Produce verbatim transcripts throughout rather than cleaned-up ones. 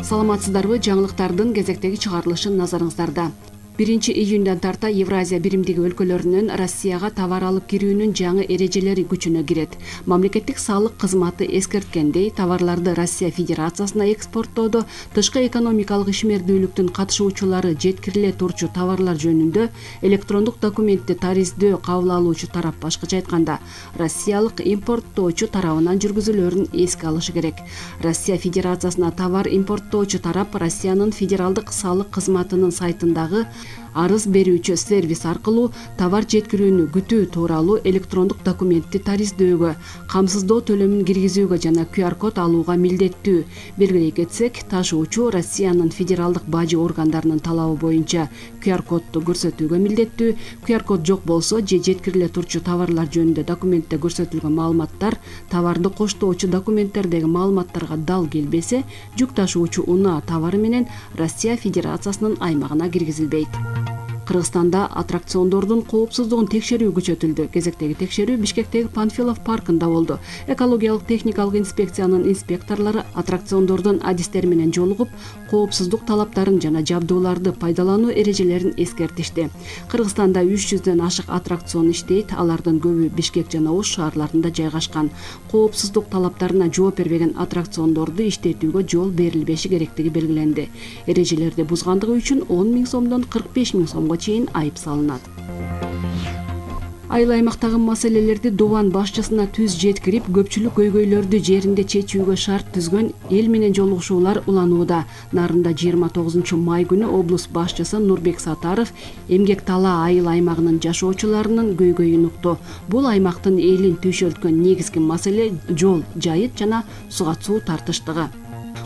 Саламатсыздарбы? Жаңылыктардын кезектеги чыгарылышы назарыңыздарда. биринчи июндан тарта Евразия биримдиги өлкөлөрүнөн Россияга товар алып кирүүнүн жаңы эрежелери күчүнө кирет. Мамлекеттик салык кызматы эскерткендей, товарларды Россия Федерациясына экспорттоодо тышкы экономикалык ишмердүүлүктүн катышуучулары жеткириле турчу товарлар жөнүндө электрондук документти тариздөө кабыл алуучу тарап, башкача айтканда, россиялык импорттоочу тарабынан жүргүзүлөөрүн эске алышы керек. Россия Федерациясына товар импорттоочу тарап Россиянын федералдык салык кызматынын сайтындагы арыз берүүчү сервис аркылуу товар жеткирүүнү күтүү тууралуу электрондук документти тариздөөгө, камсыздоо төлөмүн киргизүүгө жана ку ар код алууга милдеттүү. Белгилей кетсек, ташуучу Россиянын федералдык бажы органдарынын талабы боюнча ку ар кодду көрсөтүүгө милдеттүү. ку ар код жок болсо же жеткириле турчу товарлар жөнүндө документте көрсөтүлгөн маалыматтар товарды коштоочу документтердеги маалыматтарга дал келбесе, жүк ташуучу унаа товары менен Россия Федерациясынын аймагына киргизилбейт. Кыргызстанда аттракциондордун коопсуздугун текшерүү күчөтүлдү. Кезектеги текшерүү Бишкектеги Панфилов паркында болду. Экологиялык техникалык инспекциянын инспекторлору аттракциондордун адистери менен жолугуп, коопсуздук талаптарын жана жабдууларды пайдалануу эрежелерин эскертишти. Кыргызстанда үч жүздөн ашык аттракцион иштейт, алардын көбү Бишкек жана Ош шаарларында жайгашкан. Коопсуздук талаптарына жооп бербеген аттракциондорду иштетүүгө жол берилбеши керектиги белгиленди. Эрежелерди бузгандыгы үчүн он миң сомдон кырк беш миң сомго чейин айып салынат. Айыл аймактагы маселелерди Дубан башчысына түз жеткирип, көпчүлүк көйгөйлөрдү жеринде чечүүгө шарт түзгөн эл менен жолугушуулар уланууда. Нарында жыйырма тогузунчу май күнү облус башчысы Нурбек Сатаров Эмгек Талаа айыл аймагынын жашоочуларынын көйгөйүн укту. Бул аймактын элин түйшөлткөн негизги маселе жол, жайыт жана суга суу тартыштыгы.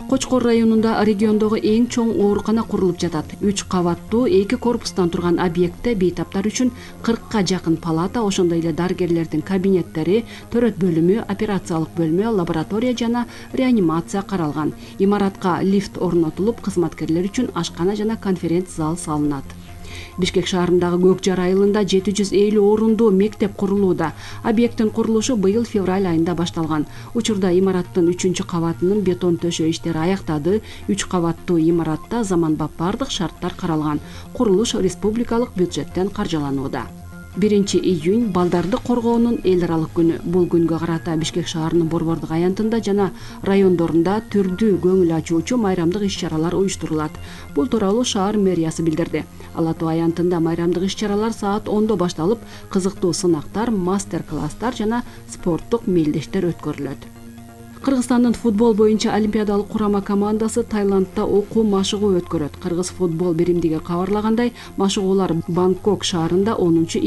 Кочкор районунда региондогу эң чоң оорукана курулуп жатат. үч кабаттуу эки корпустан турган объектте бейтаптар үчүн кыркка жакын палата, ошондой эле дарыгерлердин кабинеттери, төрөт бөлүмү, операциялык бөлмө, лаборатория жана реанимация каралган. Имаратка лифт орнотулуп, кызматкерлер үчүн ашкана жана конференц зал салынат. Бишкек шаарындагы Көк Жар айылында жети жүз элүү орундуу мектеп курулууда. Объекттин курулушу быйыл февраль айында башталган. Учурда имараттын үчүнчү кабатынын бетон төшөө иштери аяктады. үч кабаттуу имаратта заманбап бардык шарттар каралган. Курулуш республикалык бюджеттен каржыланууда. биринчи июнь балдарды коргоонун эл аралык күнү. Бул күнгө карата Бишкек шаарынын борбордук аянтында жана райондорунда түрдүү көңүл ачуучу майрамдык иш-чаралар уюштурулат. Бул тууралуу шаар мэриясы билдирди. Ала Тоо аянтында майрамдык иш-чаралар саат ондо башталып, кызыктуу сынактар, мастер-класстар жана спорттук мелдештер өткөрүлөт. Кыргызстандын футбол боюнча олимпиадалык курама командасы Таиландда окуу машыгуу өткөрөт. Кыргыз футбол биримдиги кабарлагандай, машыгуулар Бангкок шаарында онунчу